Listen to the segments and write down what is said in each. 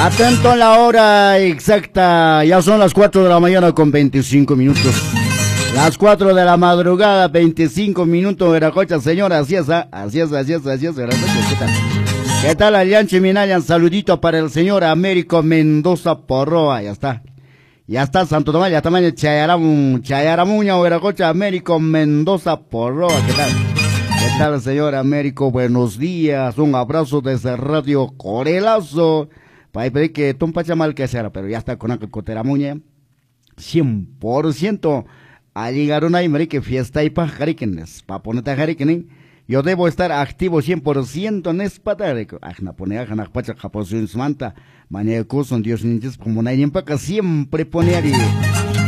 Atento a la hora exacta, ya son las 4 de la mañana con 25 minutos. Las 4 de la madrugada, 25 minutos, Veracocha, señora, así es, ¿ah? Así es, así es, así es, Veracocha, ¿qué tal? ¿Qué tal, Alianche Minayan? Saludito para el señor Américo Mendoza Porroa, ya está. Ya está, Santo Tomás, ya está, mañana, Chayaramun, Chayaramuña, Veracocha, Américo Mendoza Porroa, ¿qué tal? ¿Qué tal, señor Américo? Buenos días, un abrazo desde Radio Corelazo. Para pedir que tumpa mal que sea, pero ya está con el Coteramuña, 100%. A llegar una y que fiesta y pajarikines, pa ponete jarikinin. Yo debo estar activo 100% en espatarico. Ajna pone ajna pacha japosión manta. Mañacuson Dios ninchis munayninpaqa siempre pone ari.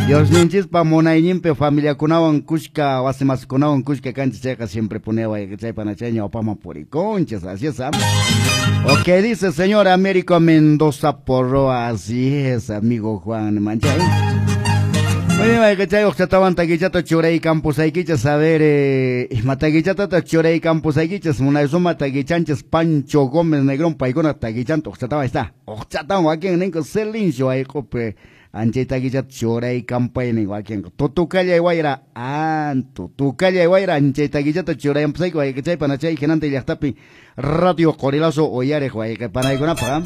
Dios ninchis pa munayninpi familia kunawan kushka wasimaskunawan kushka kanchis chayqa siempre pone chaypana chay ñawpaman puriconchis, así es, ¿ah? Ok, dice señor Américo Mendoza Porroa, así es, amigo Juan Manchay. Oye, chay, oqchatawan takichata churay campusaykichas, a ver, ima takichata churay campusaykichas, munaysuma takichanchis Pancho Gómez Negrón, paykuna takichanta, oqchatawan está, oqchatawan wakin ninko silencio ayqupi, anchay takichata churay campaynin wakin, tutukallay wayra, antu, tukallay wayra, anchay takichata churay campusayki, wayqichay panachay, hinanti llaqtapi, Radio Qorilazo uyariq wayqipanaykunapaq.